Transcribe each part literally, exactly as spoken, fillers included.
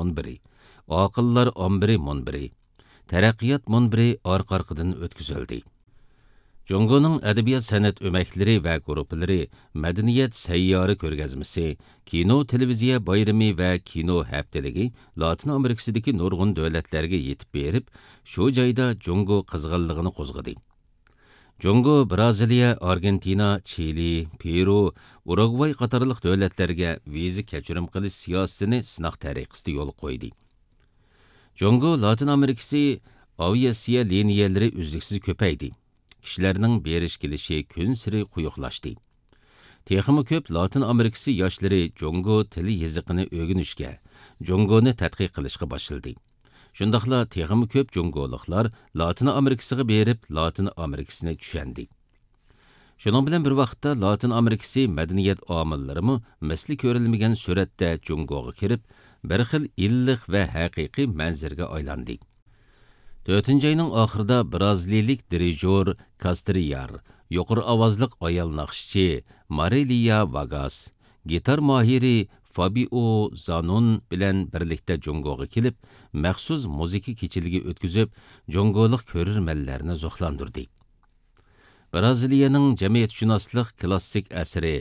مۇنبىرى، ئاقىللار ئامبىرى مۇنبىرى، تەرەققىيات مۇنبىرى ئارقا-ئارقىدىن ئۆتكۈزۈلدى. جۇڭگونىڭ ئەدەبىيات-سەنئەت ئۆمەكلىرى ۋە گۇرۇپپىلىرى، مەدەنىيەت سەييارە كۆرگەزمىسى، كىنو-تېلېۋىزىيە بايرىمى ۋە كىنو ھەپتىلىكى لاتىن ئامېرىكىسىدىكى نۇرغۇن دۆلەتلەرگە يېتىپ بېرىپ، شۇ جايدا جۇڭگو قىزغىنلىقىنى قوزغىدى. جۇڭگو برازىلىيە، ئارگېنتىنا، چىلى، پېرۇ، ئۇرۇگۋاي قاتارلىق دۆلەتلەرگە ۋىزا كەچۈرۈم قىلىش سىياسىتىنى سىناق تەرىقىسىدە يولغا قويدى. جۇڭگو لاتىن ئامېرىكىسى ئاۋىئاتسىيە لىنىيەلىرى ئۈزلۈكسىز كۆپەيدى. كىشىلەرنىڭ بېرىش-كېلىشى كۈنسېرى قويۇقلاشتى. تېخىمۇ كۆپ لاتىن ئامېرىكىسى ياشلىرى جۇڭگو تىل يېزىقىنى ئۆگىنىشكە، جۇڭگونى تەتقىق قىلىشقا باشلىدى. شۇنداقلا تېخىمۇ كۆپ جۇڭگولۇقلار لاتىن ئامېرىكىسىغا بېرىپ، لاتىن ئامېرىكىسىنى چۈشەندى. شۇنىڭ بىلەن بىر ۋاقىتتا، لاتىن ئامېرىكىسى مەدەنىيەت ئامىللىرىمۇ مىسلى كۆرۈلمىگەن سۈرئەتتە جۇڭگوغا كىرىپ، بىر خىل ئىللىق ۋە ھەقىقىي مەنزىرىگە ئايلاندى. تۆتىنچى ئاينىڭ ئاخىرىدا برازىلىيىلىك دىرىژور كاسترىيار، يۇقىرى ئاۋازلىق ئايال ناخشىچى مارىلىيا ۋاگاس، گىتار ماھىرى فابىئو زانون بىلەن بىرلىكتە جۇڭگوغا كېلىپ، مەخسۇس مۇزىكا كېچىلىكى ئۆتكۈزۈپ، جۇڭگولۇق كۆرۈرمەنلەرنى زوقلاندۇردى. برازىلىيەنىڭ جەمئىيەتشۇناسلىق كلاسسىك ئەسىرى،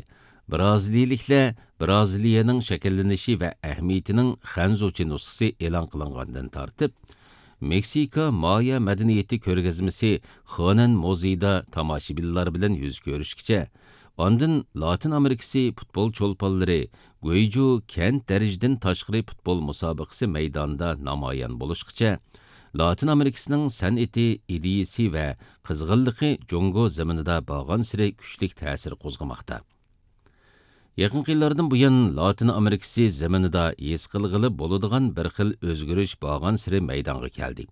برازىلىيىلىكلەر برازىلىيەنىڭ شەكىللىنىشى ۋە ئەھمىيىتىنىڭ خەنزۇچە نۇسخىسى ئېلان قىلىنغاندىن تارتىپ، مېكسىكا مايا مەدەنىيىتى كۆرگەزمىسى خېنەن مۇزېيىدا تاماشىبىنلار بىلەن يۈز كۆرۈشكىچە، ئاندىن لاتىن ئامېرىكىسى پۇتبول چولپانلىرى گۇيجۇ كەنت دەرىجىدىن تاشقىرى پۇتبول مۇسابىقىسى مەيدانىدا نامايان بولۇشقىچە، لاتىن ئامېرىكىسىنىڭ سەنئىتى، ئىدىيىسى ۋە قىزغىنلىقى جۇڭگو زېمىنىدا بارغانسېرى كۈچلۈك تەسىر قوزغىماقتا. يېقىنقى يىللاردىن بۇيان، لاتىن ئامېرىكىسى زېمىنىدا ھېس قىلغىلى بولىدىغان بىر خىل ئۆزگىرىش بارغانسېرى مەيدانغا كەلدى.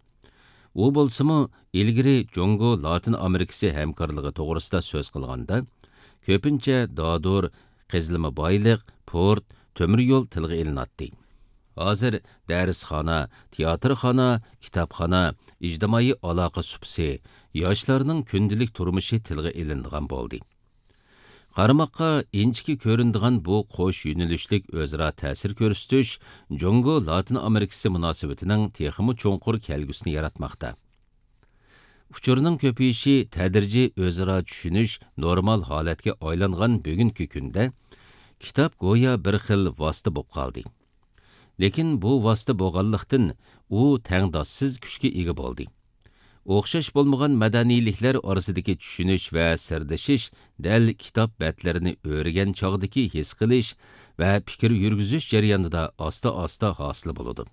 ئۇ بولسىمۇ، ئىلگىرى جۇڭگو لاتىن ئامېرىكىسى ھەمكارلىقى توغرىسىدا سۆز قىلغاندا، كۆپىنچە دادۇر، قېزىلما بايلىق، پورت، تۆمۈر يول تىلغا ئېلىناتتى. ھازىر دەرسخانا، تىياتىرخانا، كىتابخانا، ئىجتىمائىي ئالاقە سۇپىسى، ياشلارنىڭ كۈندىلىك تۇرمۇشى تىلغا ئېلىنىدىغان بولدى. قارىماققا ئىنچىكە كۆرۈنىدىغان بۇ قوش يۆنىلىشلىك ئۆزئارا تەسىر كۆرسىتىش جۇڭگو لاتىن ئامېرىكىسى مۇناسىۋىتىنىڭ تېخىمۇ چوڭقۇر كەلگۈسىنى ياراتماقتا. ئۇچۇرنىڭ كۆپىيىشى، تەدرىجىي ئۆزئارا چۈشىنىش نورمال ھالەتكە ئايلانغان بۈگۈنكى كۈندە، كىتاب گويا بىر خىل ۋاسىتە بولۇپ قالدى. لېكىن بۇ ۋاسىتە بولغانلىقتىن، ئۇ تەڭداشسىز كۈچكە ئىگە بولدى. ئوخشاش بولمىغان مەدەنىيلىكلەر ئارىسىدىكى چۈشىنىش ۋە سىردىشىش دەل كىتاب بەتلىرىنى ئۆرۈگەن چاغدىكى ھېس قىلىش ۋە پىكىر يۈرگۈزۈش جەريانىدا ئاستا-ئاستا ھاسىل بولىدۇ.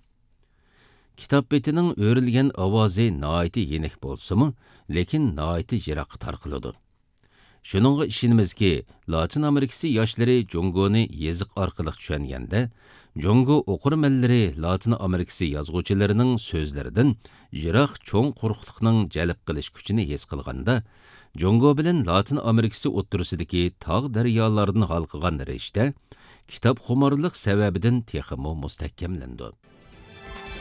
كىتاب بېتىنىڭ ئۆرۈلگەن ئاۋازى ناھايىتى يېنىك بولسىمۇ، لېكىن ناھايىتى يىراققا تارقىلىدۇ. شۇنىڭغا ئىشىنىمىزكى، لاتىن ئامېرىكىسى ياشلىرى جۇڭگونى يېزىق ئارقىلىق چۈشەنگەندە، جۇڭگو ئوقۇرمەنلىرى لاتىن ئامېرىكىسى يازغۇچىلىرىنىڭ سۆزلىرىدىن يىراق چوڭ قۇرۇقلۇقنىڭ جەلپ قىلىش كۈچىنى ھېس قىلغاندا، جۇڭگو بىلەن لاتىن ئامېرىكىسى ئوتتۇرىسىدىكى تاغ دەريالاردىن ھالقىغان رىشتە كىتابخۇمارلىق سەۋەبىدىن تېخىمۇ مۇستەھكەملىنىدۇ.